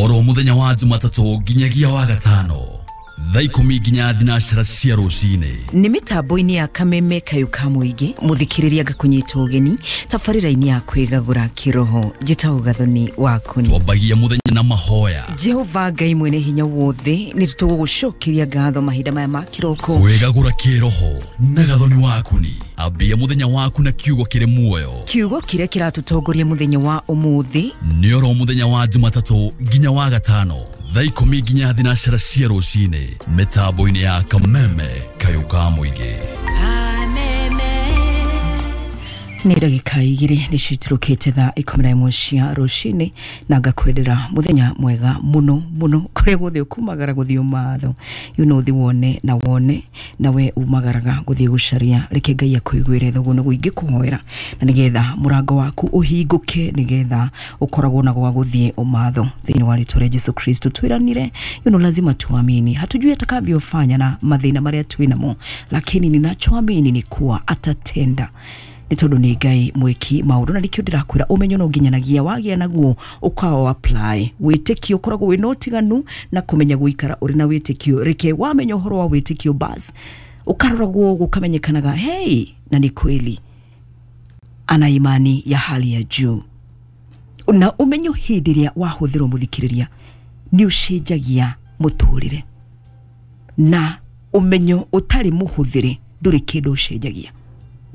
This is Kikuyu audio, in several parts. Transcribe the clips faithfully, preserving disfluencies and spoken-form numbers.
Oro muthenya wa Jumatatũ nginyagia wa gatano thaa ikũmi nginya thinacara cia rũcinĩ. Nĩ mĩtambo-inĩ ya Kameme Kayũ ka Mũingĩ, mũthikĩrĩria ngakũnyita ũgeni tabarĩra-inĩ ya kwĩgagũra kĩroho. Njĩtagwo Gathoni Wakuni. Twambagia mũthenya na mahoya. Jehova Ngai mwene hinya wothe, nĩ tũgũgũcokeria ngatho mahinda maya ma kĩroko. Kwĩgagũra kĩroho na Gathoni Wakuni. Ambia mũthenya waku na kiugo kĩrĩ muoyo. Kiugo kĩrĩa kĩratũtongoria mũthenya wa ũmũthĩ nĩ oro mũthenya wa Jumatatũ nginya wa gatano thaa ikũmi nginya thinacara cia rũcinĩ mĩtambo-inĩ ya Kameme Kayũ ka Mũingĩ. Nĩ ndagĩka igĩrĩ nĩcio itirũkĩte thaa ikũmi na ĩmwe cia rũcinĩ, na ngakwendera mũthenya mwega mũno mũno kũrĩa guothe ũkumagara gũthiĩ ũmatho. You know ũthiĩ wone na wone na we umagaraga gũthiĩ gũcaria. Reke Ngai akũiguĩre tha, ũguo nĩguo ingĩkũhoera, na nĩgetha mũrango waku ũhingũke, nĩgetha ũkoragwo na gwa gũthiĩ ũmatho thĩinĩ wa rĩtwa rĩa Jesu Kristo. Twĩranire, you know, lazima tuamini. Hatujui atakavyofanya na mathĩna marĩa twĩnamo, lakini ninachoamini ni kuwa atatenda. Nĩ tondũ nĩ Ngai mwĩki maũndũ, na nĩkĩo ndĩrakwĩra ũmenyo no nginyanagia wagĩa naguo ũkawa apply. Wĩtĩkio ũkoragwo wĩna ũtiganu na kũmenya gũikara ũrĩ na wĩtĩkio. Reke wamenya ũhoro wa wĩtĩkio bas ũkaroragwo gũkamenyekanaga, hey, na nĩ kweli ana imani ya hali ya juu. Na ũmenyo hĩndĩ ĩrĩa wahũthĩrwo mũthikĩrĩria nĩ ũcenjagia mũtũrĩre, na ũmenyo ũtarĩ mũhũthĩre ndũrĩ kĩndũ ũcenjagia.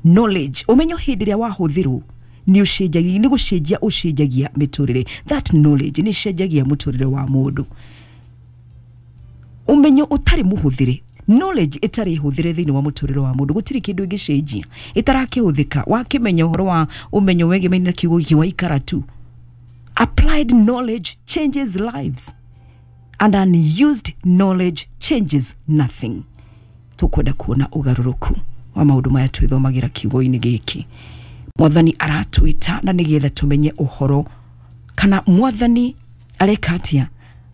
Knowledge, ũmenyo hĩndĩ ĩrĩa wahũthĩrwo nĩ ũcenjagia, nĩ gũcenjia ũcenjagia mĩtũrĩre. That knowledge nĩ ĩcenjagia mũtũrĩre wa mũndũ. Ũmenyo ũtarĩ mũhũthĩre, knowledge ĩtarĩ hũthĩre thĩinĩ wa mũtũrĩre wa mũndũ, gũtirĩ kĩndũ ĩngĩcenjia ĩtarakĩhũthĩka. Wakĩmenya ũhoro wa ũmenyo wegemainie na kiugo gĩkĩ waikara tu. Applied knowledge changes lives and unused knowledge changes nothing. Tũkwenda kuona ũgarũrũku wa maũndũ maya twĩthomagĩra kiugo-inĩ gĩkĩ. Mwathani aratwĩta na nĩgetha tũmenye ũhoro, kana mwathani areka atĩa?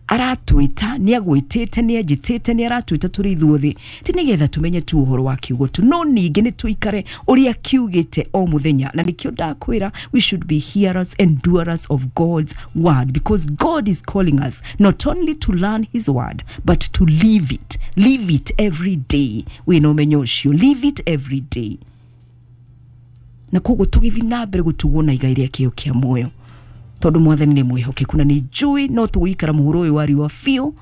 Aratwĩta, nĩ agwĩtĩte, nĩ anjĩtĩte, nĩ aratwĩta tũrĩ ithuothe, ti nĩgetha tũmenye tu ũhoro wa kiugo tu, no ningĩ nĩ tũikare ũrĩa kiugĩte o mũthenya. Na nĩkĩo ndakwĩra, we should be hearers and doers of God's word, because God is calling us not only to learn his word but to live it. Live it every day. Wĩna ũmenyo ũcio, live it every day. Na koguo tũgĩthiĩ na mbere gũtugwo na igai rĩa kĩo kĩa muoyo, tondũ mwathani nĩ mwĩhokeku na nĩ njũĩ no tũgũikara mũhuro ũyũ wa riũa biũ,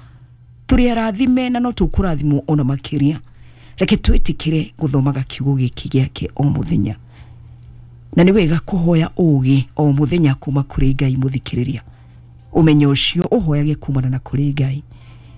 tũrĩ arathime na no tũkũrathimwo ona makĩria. Reke twĩtĩkĩre gũthomaga kiugo gĩkĩ gĩake o mũthenya, na nĩ wega kũhoya ũũgĩ o mũthenya kuma kũrĩ Ngai. Mũthikĩrĩria, ũmenyo ũcio ũhoyage kumana na kũrĩ Ngai.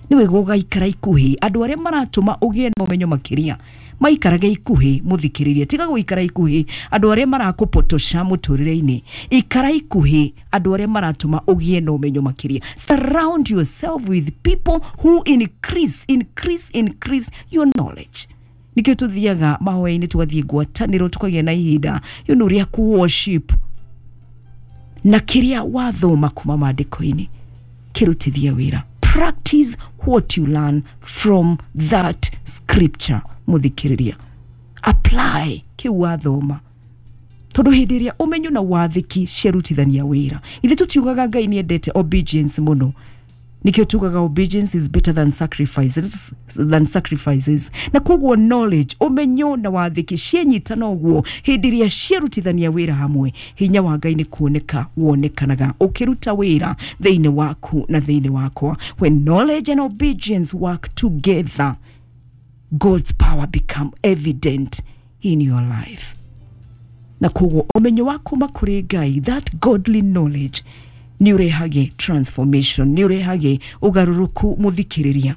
Nĩ wega ũgaikara ikuhĩ andũ arĩa maratũma ũgĩe na ũmenyo makĩria, maikarage ikuhĩ. Mũthikĩrĩria, tiga gũikara ikuhĩ andũ arĩa marakũpotosha mũtũrĩre-inĩ. Ikara ikuhĩ andũ arĩa maratũma ũgĩe na ũmenyo makĩria. Surround yourself with people who increase, increase, increase your knowledge. Nĩkĩo tũthiaga mahoya-inĩ, tũgathiĩ ngwatanĩro, tũkagĩa na ihinda you know, rĩa kũ worship, na kĩrĩa wathoma kuma maandĩko-inĩ kĩrutithia wĩra. Practice what you learn from that scripture. Mũthikĩrĩria, apply kĩu wathoma, tondũ hĩndĩ ĩrĩa ũmenyo na wathĩki ciarutithania wĩra. Ithe tũtiugaga Ngai nĩ endete obedience mũno, nĩkĩo tugaga obedience is better than sacrifices, than sacrifices. Na koguo knowledge, ũmenyo na wathĩki cianyitana ũguo, hĩndĩ ĩrĩa ciarutithania wĩra hamwe, hinya wa Ngai nĩ kuoneka wonekanaga ũkĩruta wĩra thĩinĩ waku na thĩinĩ wakwa. When knowledge and obedience work together, God's power become evident in your life. Na koguo ũmenyo wa kuma kũrĩ Ngai, that godly knowledge, nĩ ũrehage transformation, nĩ ũrehage ũgarũrũku mũthikĩrĩria,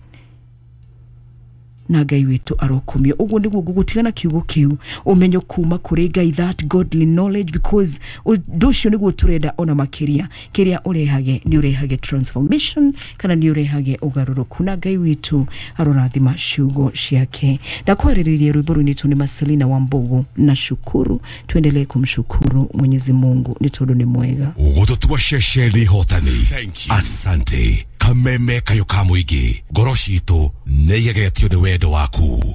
na Ngai witũ arokumio. Ũguo nĩguo ngũgũtiga na kiugo kĩu, ũmenyo kuma kũrĩ Ngai, that godly knowledge, because ũndũ ũcio nĩguo tũrenda ona makĩria. Kĩrĩa ũrehage nĩ ũrehage transformation, kana nĩ ũrehage ũgarũrũku, na Ngai witũ arorathima ciugo ciake. Ndakwarĩrĩria rwĩmbo rũinĩtwo nĩ Marcelina Wambugu na shukuru. Tuendelee kumshukuru Mwenyezi Mungu nĩ tondũ nĩ mwega. Gũtũtua ceceni hotani. Asante. Kameme Kayũ ka Mũingĩ, ngoro citũ nĩ igegetio nĩ wendo waku.